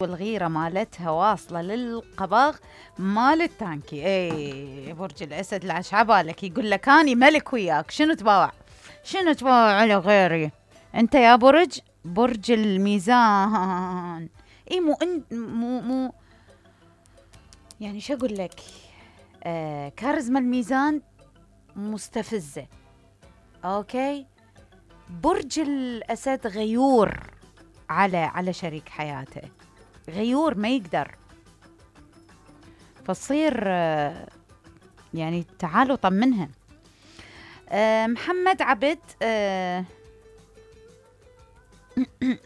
والغيرة مالتها واصلة للقبغ مال التانكي. اي برج الأسد لاش عبالك يقول لك أني ملك وياك، شنو تباوع على غيري؟ أنت يا برج الميزان. اي مو يعني شو أقول لك، كاريزما الميزان مستفزة. أوكي، برج الأسد غيور على شريك حياته، غيور ما يقدر، فتصير يعني تعالوا طمنها. محمد عبد،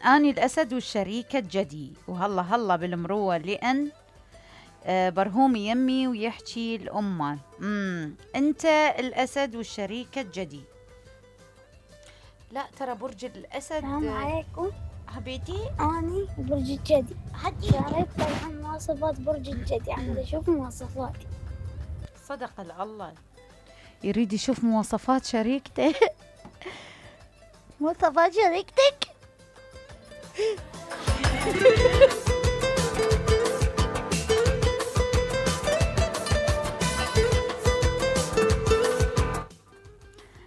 أني الأسد والشريكة جدي، وهلا بالمروة لأن برهومي يمي ويحكي الأمة. أنت الأسد والشريكة جدي. لا ترى برج الأسد. السلام عليكم حبيتي، أني برج الجدي. شاركت عن مواصفات برج الجدي، عم أشوف مواصفاتي. صدق الله، يريد يشوف مواصفات شريكته. مواصفات شريكتك.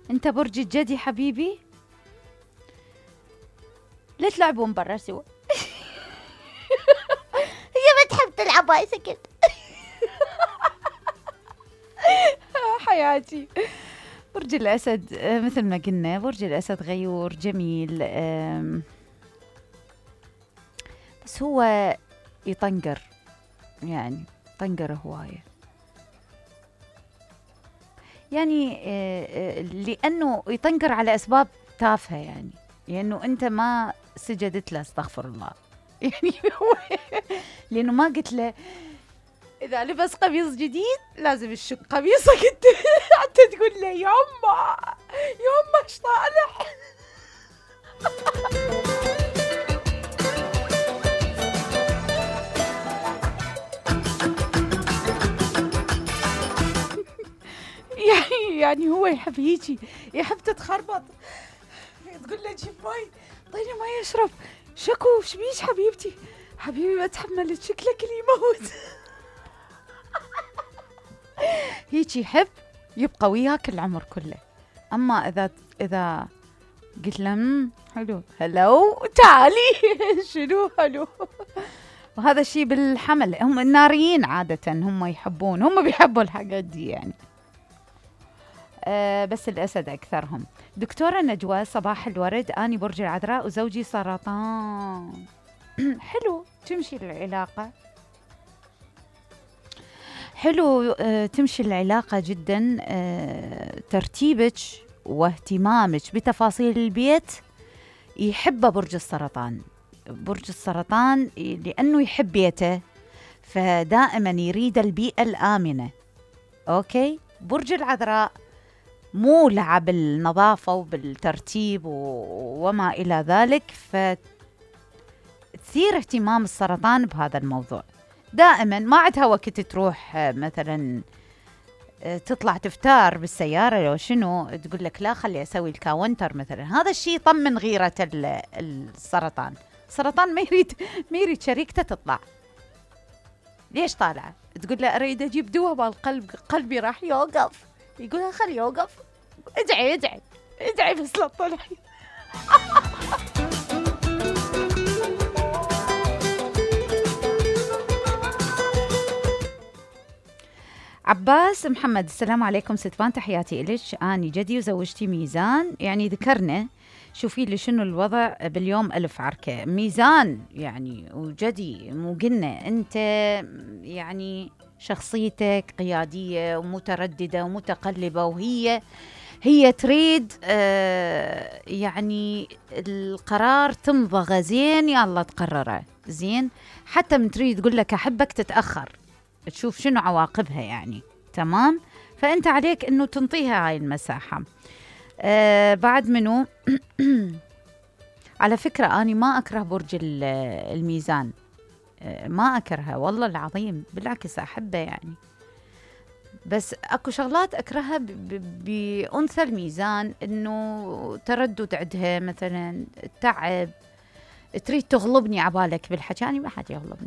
انت برج الجدي حبيبي، لا تلعبون برا سوا. هي ما تحب تلعب، هاي سكت. حياتي برج الأسد، مثل ما قلنا برج الأسد غيور جميل، بس هو يطنقر، يعني طنقر هواية، يعني لأنه يطنقر على أسباب تافهة، يعني لأنه أنت ما سجدت له، استغفر الله. يعني هو لأنه ما قلت له إذا لبس قميص جديد لازم تشق قميصك أنت. حتى تقول له يما ايش طالع. يعني هو يحب هيجي، يحب تتخربط، تقول له جيب ماي، طيني ماي اشرب. شكو شبيش حبيبي ما تحملت، شكلك اللي يموت. هيك يحب يبقى وياك العمر كله. اما اذا قلت له حلو هلو تعالي. شنو هلو؟ وهذا الشيء بالحمل، هم الناريين عادة هم يحبون، هم بيحبوا الحاجات دي يعني. بس الأسد أكثرهم. دكتورة نجوى، صباح الورد، أني برج العذراء وزوجي سرطان. حلو تمشي العلاقة، حلو تمشي العلاقة جدا. ترتيبك واهتمامك بتفاصيل البيت يحب برج السرطان. برج السرطان لأنه يحب بيته، فدائما يريد البيئة الآمنة. أوكي، برج العذراء مولع بالنظافة وبالترتيب وما إلى ذلك، فتثير اهتمام السرطان بهذا الموضوع. دائما ما عندها وقت تروح مثلا تطلع تفتار بالسيارة لو شنو، تقول لك لا خلي أسوي الكاونتر مثلا. هذا الشيء يطمن غيرة السرطان. السرطان ما يريد شريكته تطلع. ليش طالعة؟ تقول له أريد أجيب دواء بالقلب، قلبي راح يوقف. يقولها خلي يوقف، ادعي بس لا تطلعي. عباس محمد، السلام عليكم ستفان، تحياتي إليش، أني جدي وزوجتي ميزان. يعني ذكرنا، شوفي لي شنو الوضع باليوم. ألف عركة ميزان يعني وجدي، مو قلنا أنت يعني شخصيتك قيادية ومترددة ومتقلبة، وهي تريد يعني القرار تمضغه زين، يلا تقرره زين. حتى من تريد تقول لك أحبك تتأخر، تشوف شنو عواقبها يعني. تمام، فأنت عليك أنه تنطيها هاي المساحة. بعد منو؟ على فكرة أنا ما أكره برج الميزان، ما أكرهه والله العظيم، بالعكس أحبه يعني. بس أكو شغلات أكرهها بأنثى الميزان، أنه تردد عندها مثلا، تعب، تريد تغلبني عبالك بالحكي، أنا ما حد يغلبني.